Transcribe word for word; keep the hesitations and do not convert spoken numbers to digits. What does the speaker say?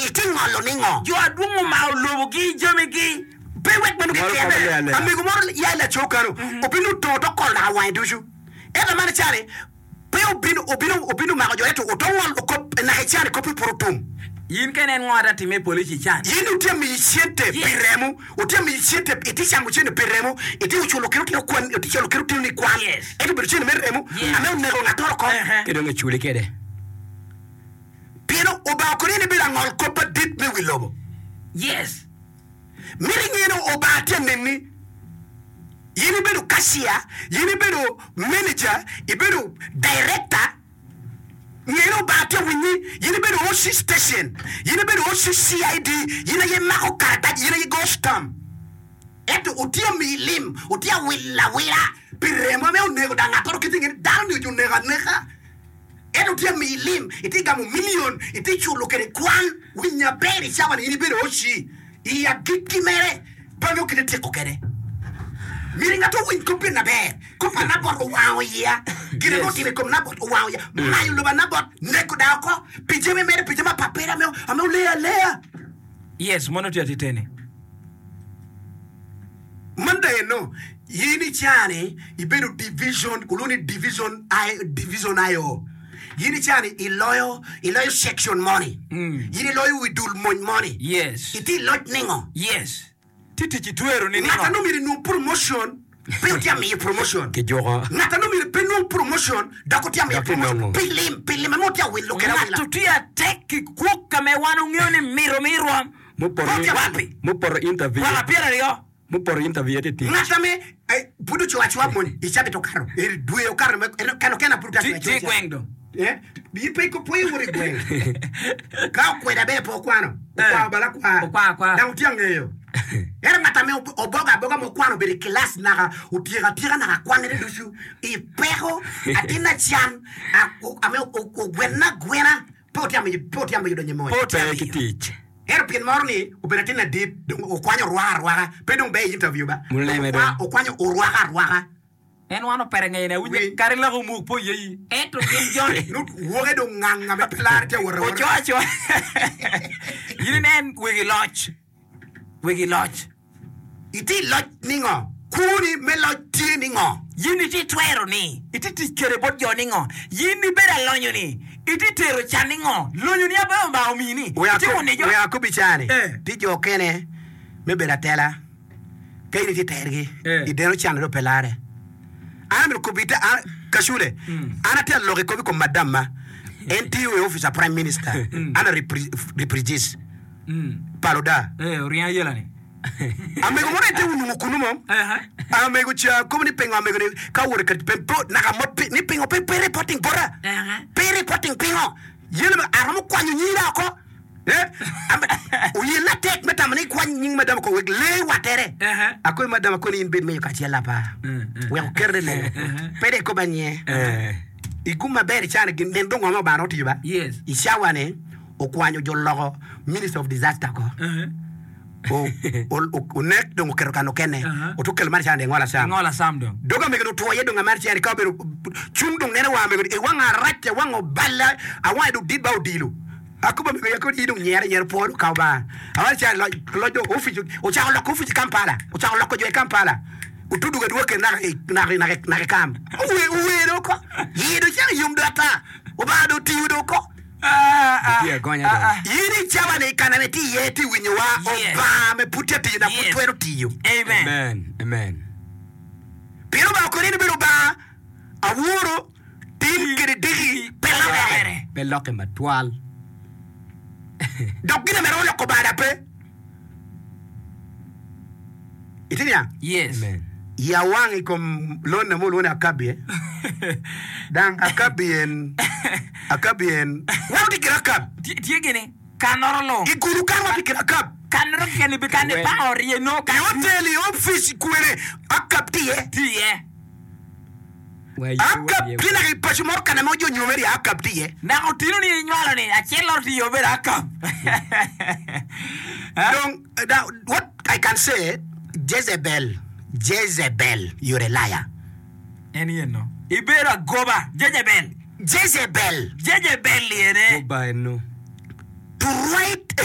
Itye ngolo ningo? Jo adwong omako lobogi jamigi. Pe wek meno Ngolo keken. kome aleya aleya. Amego moro ya i laco kano, obino otongo to kolo naka wange ducu. Ento man icani pe obino obino obino omako jo ento oto ngolo kop naka icani kop pud otum. In ka inen ngo ata timme i polic ican. In otye miyi cente pi Yes. remo, otye miyi cente itye camo cente pi remo, itye culo kit otino kwan, itye culo kit otino ni kwan. Yes. Ento obedo cente me remo Yes. ame oneko ngatoro oko. Uh-huh. Ki dong iculi kwede. Pien Obanga koni en ebedo angol kop madit me wi lobo. Yes. Mito inge ni Obanga tye anenni. In ibedo cashier, in ibedo manager, ibedo director, nge ni Obanga tye awinyi. In ibedo O C station, in ibedo O C C I D, in aye imako karatac, in aye igoyo stamp. Ento otye amiyi lim, otye awilo awila pi remo ame onego dang ngatoro kit inge ni dano-ni ojo oneko aneka. Ento tye amiyi lim, itye gamo milion, itye culo kede kwan, winy aber i cawa-ni in ibedo O C i agikki mere pe nongo kite tyeko kede. Myero ngat owiny kop gin aber, kop pa Nabot owango iya, gin ame Yes. otimo i kom Nabot owango iya, mayo lobo a Nabot, neko dano oko, pi jami mere, pi jami apapera ame ame oleyo aleya. Yes, mono tye atiteni. Man dong eno, in i caa-ni ibedo division, olwongo ni division I, division I O. In i caa-ni iloyo, iloyo section moni. Mm. In iloyo wi dul mony moni. Yes. Itye i loc ningo? Yes. Tye tic itwero ni Ngat ningo? a nongo myero inwong promotion, pe otye amiyo promotion. Kijuko. Ngat a nongo myero pe nwong promotion, dok otye amiyo Dok promotion. inongo. Pi lim, pi lim ame otye awilo kede awila. Ngat otye atek ki kwok ka me wan ongeyo ni mito mi rwom. Mupoto Pe otye awilo. Wapi? Mupoto interview. Mwaka pyeraryo. Mupoto interview tye tic. Ngat ame eh, pud ocoyo acoya mony i cabit okato, eri dwe okato me en kano kena pud Tye ocoyo tye i acoya. gweng dong. Eh, in pe pe iwoto i gweng. Ka okweda bene pe okwano, okwano bala akwa. Okwano akwa. Dang otye angeyo. Ento ngat ame ob- obogo aboga ma okwano obedo i kilac naka otyeko atyeka naka kwanne ducu i peko atin acan a- o- ame o- o- ogwenne agwena pe otye amiyo pe otye amiyo donyo i mony. Pe otye Pe ki amiyo. tic. Ento pien moro ni obedo atin ladit dong okwanyo orwaka arwaka pe dong ber i interview ba. Muleme Okwa- dong. Okwanyo orwaka arwaka. En wan opere ngeye ne awinyo Winy. kadi loko omuk po yeyi. Ento gin joni. Nut woke dong nganga me pe lare tye awot awota. Oco acoa. In inen wegi loc. Wegi loc. Itye i loc ningo? Kwoni me loc tye ningo? Yin itye twero ni itye tic kede bot jo ningo? Yin ibedo alonyo ni itye tero can ningo? Lonyo ni abe Obanga omini. Itye wunijo. Wek akob i caa-ni, Eh. tye jo okene me bedo atela ka in itye tergi Eh. i deno can dong pe lare. An amito kobo ite an kacule an atye aloko i kop i kom madamma en tiyo i opic a prime minister an a reprejis pa luda. Eh, oringo ayela ni. Amego moro en te onongo kunu mo. Eh, Amego ca kobo ni pingo amego ni ka owoto ka pe pe naka mot pe ni pingo pe pe reporting bota. Eh. Pe reporting pingo. Yelo me aromo kwanyo nyira oko. Eh? Ame- Oyel atek me tamo ni kwany nying madam oko wek lee watere. Eh. Akoy madam akoy ni in bed meyo kacel apa. Wek okerne leng. Pe de koba nye. Eh. I gum maber i cani gin nen dong ngo ma Obanga otiyo ba. Yes. I cawa ni okwanyo jo loko minister of disaster ko. Eh. O- o- o- onek dong oketo kan okene Uh-huh. otukelo mar cani ngola sam Ngola sam dong. dog amego ni otwo iye dong amar cani ka obedo cung dong nene wa amego ni e wang arac awang oballa awang dong dit ba odilo akobo amego ya kodi dong nyere nyere pwodo ka ba amar cani loc loc dong ofic ocako loko ofic i Kampala ocako loko jo i Kampala otuduga dwoke naka i- naka naka naka i kam owe owero ko yido cako yom do ata Obanga dong otiyo do ko Ah, ah, Tye agonya ah, dong. ah. In i cawa ni kana me tye iye tye winyowa. Yes. Obanga me pud tye tiyo na pud Yes. twero tiyo. Amen. Amen. Amen. Pien Obanga koni ni bedo Obanga aworo tin kede diki pe lokere. Pe lokke matwal. Dok gin ame romo loko bada pe. Itye niang? Yes. Amen. Ya wang i kom lonna mo olwongo ni Akabi eh. Dang Akabi en Akabi en wan watye kede Akab. Tye tye gini kanoro lung. I gulu kan watye kede Akab. Kanoro keken bi kan Wen. ipanga orye no I kan hotel i ofic kwene Akab tye iye. tye iye. Wa ye, wa Akab ye. tye naka i paco moro kana ma jo nyomere iye Akab tye iye. Naka otino ni inywalo ni acel loro tye iye obedo Akab. Dong, uh, now, what I can say, Jezebel, Jezebel, you're a liar. En yen no. Ibedo agoba Jezebel. Jezebel, Jezebel yene. Goba eno. To write a